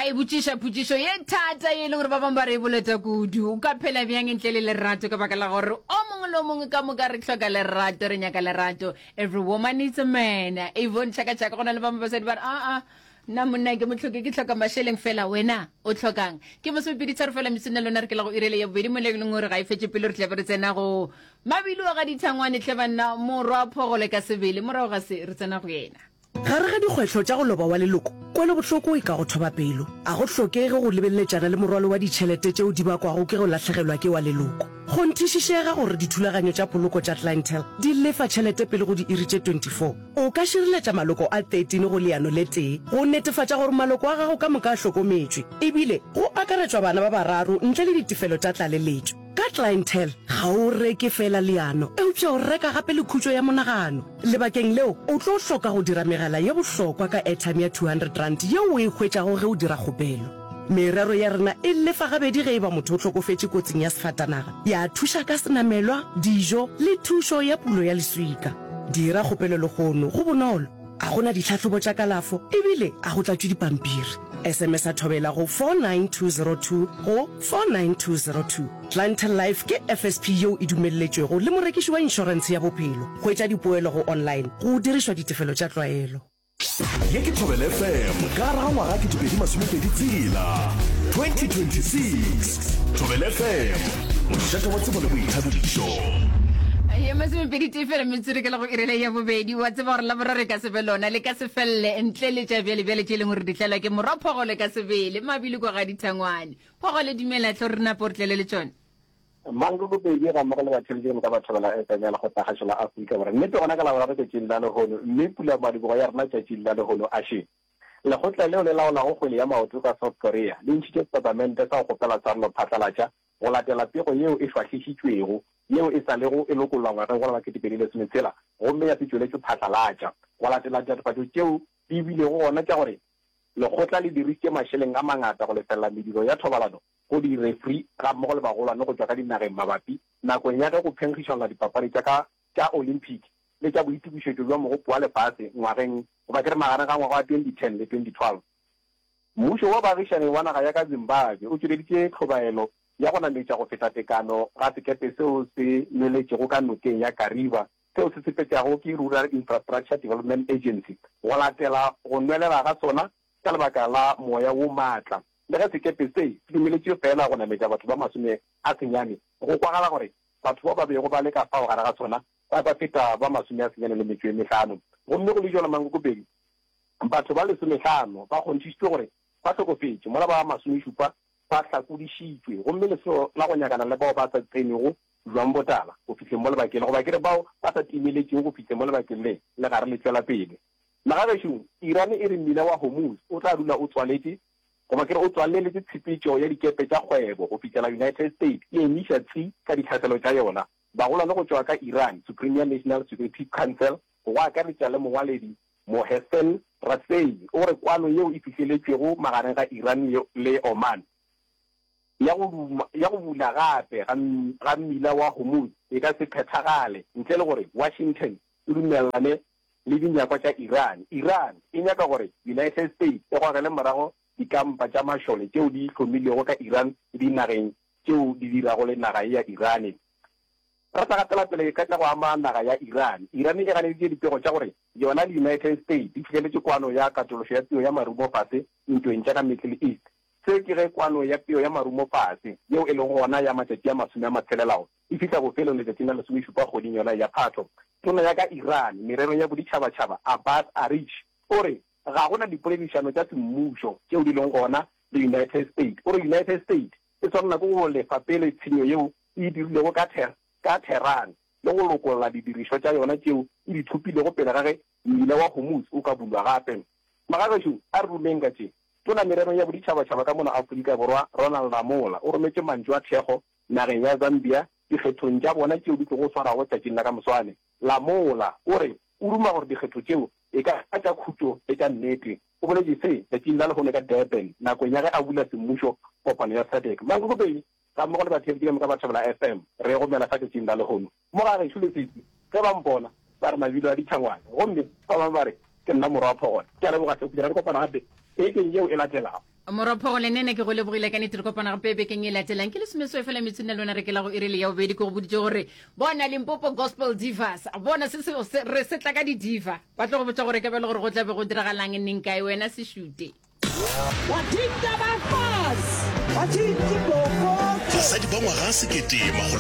Ra e botšiša potšišo ye thata ye e leng gore ba bangwe ba re e boleta kudu. O ka phela bjang ntle le lerato? Ka baka la gore o mongwe le o mongwe ka moka re hloka lerato, re nyaka lerato. Every woman needs a man. Yvonne Chaka Chaka, go na le bangwe basadi ba re, aa, nna monna ke mo hloke, ke hloka mašeleng fela. Wena o hlokang? Ke masomepedi tharo fela metsotso na lona re ke la go irele ya bobedi mo e leng gore ga e fetše pelo re tla be re tsena go mabilo ga dithangwane hle banna morwa phogole ka sebele morago ga se re tsena go yena. Gare ga dikgwetlho tša go loba wa leloko, kwelobohloko e ka go thoba pelo. A go hlokege go lebeleletšana le morwalo wa ditšhelete tšeo di bakwago ke go lahlegelwa ke wa leloko. Kgonthišišega gore dithulaganyo tša poloko tša Clientele di lefa tšhelete pele go diiri tše 24. O ka šireletša maloko a 13 go leano le tee go netefatša gore maloko a gago ka moka a hlokometšwe, ebile go akaretšwa bana ba bararo ntle le ditefelo tša tlaleletšo. Ka Clientele, ga o reke feela leano, eupša o reka gape le khutšo ya monagano. Lebakeng leo, o tlo hloka go dira megala ye bohlokwa ka airtime ya R200 yeo o e hwetšago ge o dira kgopelo. Merero ya rena e lefa gabedi ge e ba motho o hlokofetše kotsing ya sefatanaga, ya thuša ka senamelwa, dijo le thušo ya pulo ya leswika. Dira kgopelo lehono, go bonolo, ga go na ditlhahlobo tša kalafo ebile ga go tlatšwe dipampiri. SMS-a Thobela go 49202 go 49202. Clientele Life ke FSP yeo e dumelletšwego le morekiši wa inšorentshe ya bophelo. Hwetša dipoelo go online go dirišwa ditefelo tša tlwaelo. Ye ke Thobela FM ka gare ga ngwaga 2026, 2026. Thobela FM, mošate wa tsebo le boithabišo. Ye masomepedi tee fela metsotso ke la go irela ya bobedi. Wa tseba gore laboraro e ka se be lona, le ka se felele ntle le tša bjale-bjale tše e leng gore di tlelwa ke morwa Phogole ka sebele. Mabili kwa ga Dithangwane. Phogole dumela hle gore re nape o re tlele le tšona. Mankoko Pedi ga mmogo le batheeletši ka moka ba Thobela FM ya Lekgotlakgašo la Afrika Borwa. Nnete gona ka Laboraro tšatšing la lehono, mme pulamadibogo ya rena tšatšing la lehono a še. Lekgotla leo le laolago kgwele ya maoto ka South Korea le ntšhitše setatamente sa go kgopela tshwarelo phatlalatša go latela pego yeo e šwahlišitšwego yeo e sa lego e lokollwa ngwageng wola wa 2016 gomme ya se tšweletšwe phatlalatša go latela ditatofatšo tšeo di bilego gona tša gore Lekgotla le dirišitše mašeleng a mangata go lefelela mediro ya thobalano go direfri gammogo le bagolwane go tšwa ka dinageng mabapi nakong ya ge go phenkgišanwa dipapadi tša ka tša Olympic le tša boitokišetšo bja Mogopo wa Lefase ngwageng goba ke re magareng ga ngwaga wa 2010 le 2012. Mmušo wa baagišani wa naga ya ka Zimbabwe o tšweleditše tlhobaelo ya go nametša go feta tekano ga sekepe seo se nweletšego ka nokeng ya Kariba seo se sepetšago ke Rural Infrastructure Development Agency go latela go nwelela ga sona ka lebaka la moya wo maatla. Le ge sekepe se se dumeletšwe feela go nametša batho ba 90, go kwagala gore batho bao ba bego ba le ka fao gare ga sona ba ba feta ba 95. Gomme go le bjalo Mankokopedi, batho ba lesomehlano ba kgonthišitšwe gore ba hlokofetše, mola ba masomešupa ba hlakodišitšwe, gomme lesolo la go nyakana le bao ba sa tsenwego bjang botala go fihleng mo lebakeng le, goba ke re bao ba sa timeletšego go fihleng mo lebakeng le, le gare le tšwela pele. Magagešo, Iran e re mmila wa Hormuz o tla dula o tswaletše, goba ke re o tswaleletše tshepetšo ya dikepe tša kgwebo go fihlela United States e emiša tsi ka ditlhaselo tša yona. Bagolwane go tšwa ka Iran Supreme National Security Council, go akaretša le mongwaledi Mohsen Rezaei, o re kwano yeo e fihleletšwego magareng ga Iran le Oman ya go ya go bula gape ga ga mmila wa Hormuz e ka se phethagale ntle le gore Washington e dumelelane le dinyakwa tša Iran. Iran e nyaka gore United States e gogele morago dikampa tša mašole tšeo di hlomilwego ka Iran le dinageng tšeo di dirago le naga ye ya Iran. Re sa gatela pele ka tša go ama naga ya Iran, Iran e ganeditše dipego tša gore yona le United States di fihleletše kwano ya katološo ya peo ya marumo fase ntweng tša ka Middle East. Se ke ge kwano ya peo ya marumo fase, yeo e lego gona ya matšatši a masome a matshelelago, e fihla bofelong letšatšing la lesomešupa kgweding yona ya Phatho. Tona ya ka Iran mererong ya boditšhabatšhaba Abbas Araghchi o re ga go na dipoledišano tša semmušo tšeo di leng gona le United States. O re United States e swanela ke go lefa pele tshenyo yeo e e dirilego ka ka Tehran le go lokolla didirišwa tša yona tšeo e di thopilego pele ga ge mmila wa Hormuz o ka bulwa gape. Magagešo, a re rumeng ka tše. Tona mererong ya boditšhabatšhaba ka mono Afrika Borwa, Ronald Lamola, o rometše mantšu a thekgo nageng ya Zambia dikgethong tša bona tšeo di tlogo swarwago tšatšing la ka moswane. Lamola o re o duma gore dikgetho tšeo e ka ba tša khutšo le tša nnete. O boletše se tšatšing la lehono ka Durban nakong ya ge a bula semmušo kopano ya SADC. Mankokopedi gammogo le batheeletši ka moka ba Thobela FM re e gomela fa tšatšing la lehono. Mo ga gešo Letsitsi ge ba mpona ba re mabilo a ditšhangwane gomme ba bangwe ba re ke nna morwa wa Phogole. Ke a leboga hle go fihlela re kopana gape bekeng yeo e latelago. Morophogo le nene ke go lebogile ka nete re kopana gape bekeng e latelang ke lesomeswe fela metsong le lona re ke la go iri le ya bobedi ke go boditše gore bona Limpopo Gospel Divas bona se se re se tla ka di diva ba tlo go botša gore ka bjale gore go tla be go diragalang neng kae wena se šute. Basadi ba ngwaga sekete makgolo.